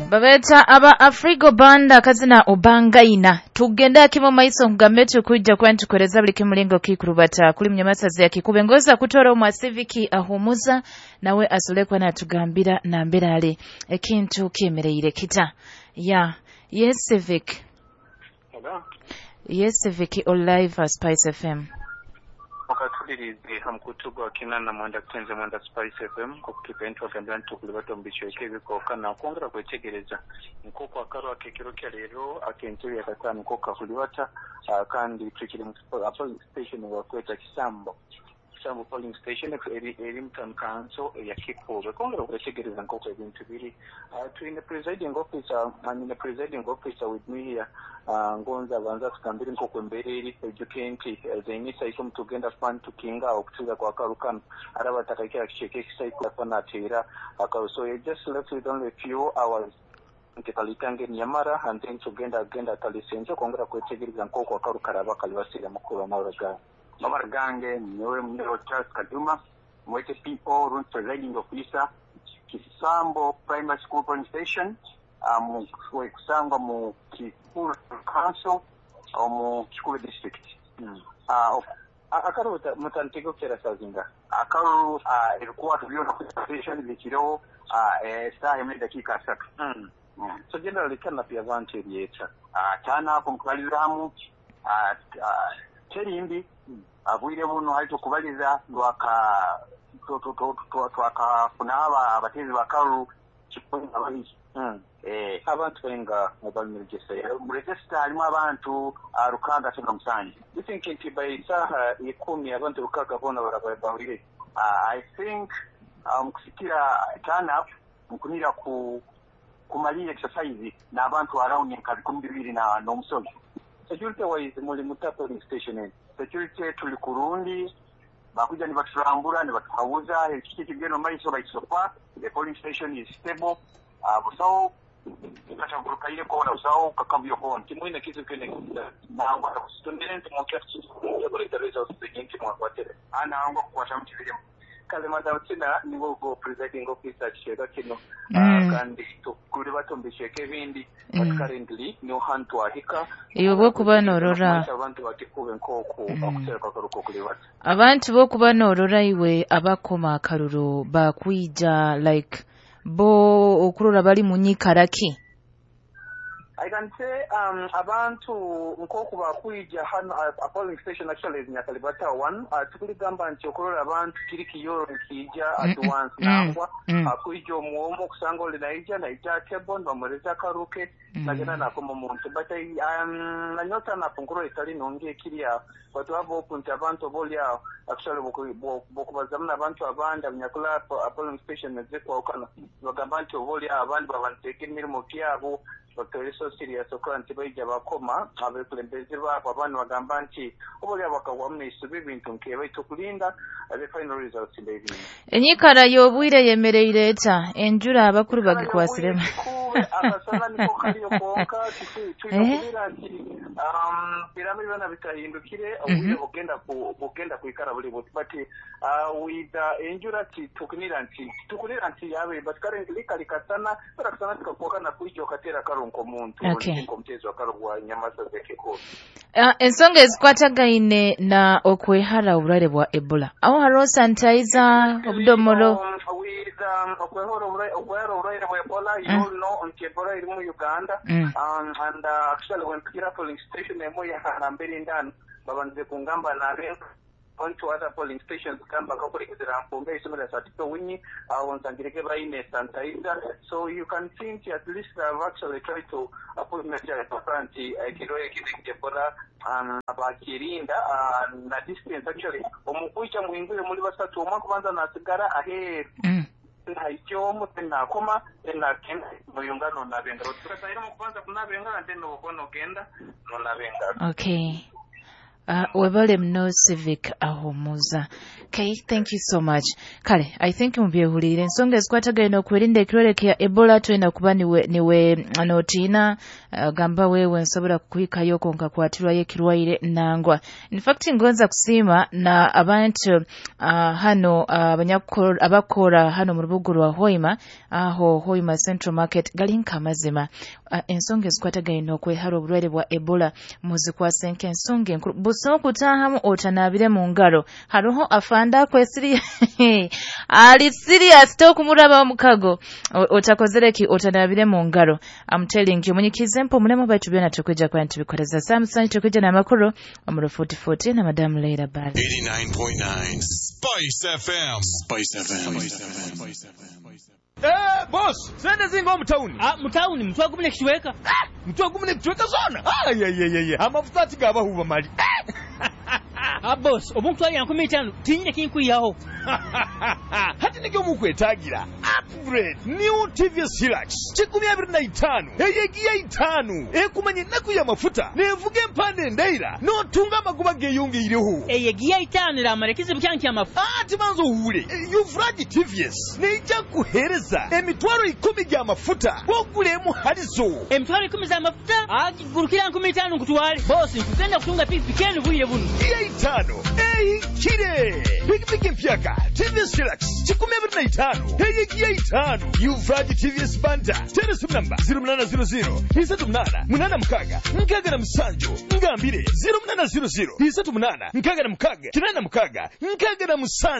Babeta aba Afrigo Banda kazina obangaina tugenda kimo maiso ngambe tukujja kwantukoleza buli kimulingo kikurubata kuli munyamasazi ya Kikube ngoza kutora omwa civic ahumuza nawe asolekwa natugambira nambirale ekintu kyemereire kita ya yes civic. Hello. Yes civic on live Spice FM. Wakatulirize hamkutu gwa kinana mwenda kutenze mwenda Spice FM kukutuka entwa gambira ntukulibata omubichweke ebikoka na kwongera kwetegereza nk'oku akarwa akekiro kya leero ak'entebe ya kataano nk'oku kakulibata, kandi tukiri mu polling station wakweta Kisambo polling station eri mu town council ya Kikuube kwongera kwetegereza nk'oku ebintu biri. Twine presiding officer, and the presiding officer with me here, ngonza banza tukambire nk'oku embeera eri ejuke nti zeinisa iko mutugenda kuba tukinga okutuza kwa karukano araba takakira kicheke kisaiko nateera akaru. So you just left with only a few hours nti kalitange nyamara and then tugenda agenda kalisenje kwongera kwetegereza nk'oku akaru karaba kalibasira mukuru amawura Mabara gange nyowe Munyoro Charles Kaduma mwete PO Room presiding officer Kisambo Primary School polling station, kusangwa mu Kikuru Council mu Kikube District. Akaru mutantego kera sazinga akaru ebikwato byona ku station bikireho saa imwe dakika 3. So generally kana pia abantu eryeta tana ako mukubalizamu terimbi abwire buno hali tukubaliza lwaka twakafuna abatezi bakaru kipunga babiri. Abantu benga mobile register register halimu abantu 607. You think nti by saha 10 abantu 6 bona barabahurire? I think kusikira turn up nkunira ku kumalira exercise n'abantu around nka 20,000 na n'omusozi. Security wise muli muta polling station security tuli kurundi bakuja ni baturambura ni batuhawuza ekiki kigeno maiso baisopa. The polling station is stable. Busawo katagurukaire kona busawo kakambyo kona kimwine kitu kene nangwa kusitondere nti mokya kuleta results zingi mwakwatere anangwa kukwata mutibiremu kale madam tina niwo go presiding officer kisheka kino, kandi tukuli batumbisheke ebindi, but currently no hantu ahika iwe bokuba norora abantu bakikube nk'oku okutereka akaruko kulibata abantu bokuba norora iwe abakoma akaruru bakwija like bo okurora bali munyikaraki. I can say abantu nkoku bakwija hano a polling station actually is Nyakalibata 1, tukuligamba nti okurora abantu kiri kiyoro nkija at once nangwa akwija omwomo okusanga oli naija naija table bamureza karuke nagenda nakoma omuntu, but nanyota napunkuro etali nungi ekiri aho but waba opunti abantu boli aho actually bokubazamu n'abantu abandi abanyakula a polling station ezikwawukana bagamba nti oba oli aho abandi babanteeka emirimo kyabo bakaba so serious okuba nti baija bakoma abekulembeze baabo abandi bagamba nti oba oli aho bakagwamu n'eisubi ebintu nkebaitu okulinda the final results ndebintu. Enyikara y'obwire yemereire eta enjura abakuru bagikwasiremu akasana niko kariyo konka tuikubira nti birame byona bitahindukire obwire bugenda kwikara buli buti, but with enjura tukunira nti yabe, but currently kali kasana bara kasana tukakwaka na kuija okatera karunko muntu nkomtezo akarugwa nyamasa zekeko. Ensonga ezikwatagaine na okwehara obulwaire bwa Ebola aho hariho sanitizer obudomoro with okwehara obulwaire bwa Ebola. You all know nti Ebola eri mu Uganda, and actually when tukira polling station emo ya nambere ndano babanze kungamba nabe on to other polling stations kamba kakurekezera mpombe isomera satito winyi onsangireke baine sanitizer, so you can think at least I've actually tried to put measures nti ekiro ekine Ebola bakirinda na distance actually omukwicha muhingure muri basatu omwe kubanza nasigara aheru haikyomu tenakoma tenakenda muyungano nabengaro tukasaira mukubanza kunabengara then okono genda nonabengaro. Okay. Webale muno Civic Ahumuza. Okay, thank you so much. Kale, I think mubyehuliire ensonga ezikwatagana n'okwerinda ekirwadde kya Ebola. Tulina kuba niwe notiina, gamba wewe nsobola kukuhikayo nkakwatirwayo ekirwaire nangwa. In fact, ngonza kusiima na abantu hano abakora hano mu rubuga rwa Hoima, aho Hoima Central Market, gali nk'amazima. Ensonga ezikwatagana n'okwehara oburwaire bwa Ebola muzikwase nk'ensonga enkuru. Busa okutaahamu otanaabire mu ngaro. Haroho afande akwesiriya ali serious, tokumuraba omukago otakozere ki, otanaabire mu ngaro. I'm telling you, munyikize mpo mulemo baitu byona tukwija kuba nitubikoreza saa 7, tukwija n'amakuru omu rufuutifuuti na Madamu Leila Bali. 89.9 Spice FM. Spice FM. Spice FM. Eh, boss, sente zinga omu tawuni. Ah, mu tawuni 100 n'ekicweka. 100 n'ekicweka zona. Ayayayaya, amafuta ati gabahuba mali. Ah, boss, obu nkutwalira 5000 tinyine kinkwihaho. Hati nigyo mukwetagira upgrade, new TVS Hilux 25, eyegiya 5, ekumanya ennaku y'amafuta, nevuga empanda endaira, n'otunga amagoba geeyongeireho. Eyo egiya 5 eramara ekizibu kyange ky'amafuta. Ati banza owuule, Uvraji TVS neija kuheereza 100,000 gy'amafuta bw'ogula halizo. 100,000 z'amafuta agigurukira 5000 nkutwale. Boss, nkugenda kutunga pikipiki enu bwire buno. Giya 5 ehikire, pikipiki empyaka TVS Hilux 25, eyegiya 5, Uvraji TVS Banta. Tera esimu namba 0800 38 86 67. Ngambire 0800 38 66 86 67.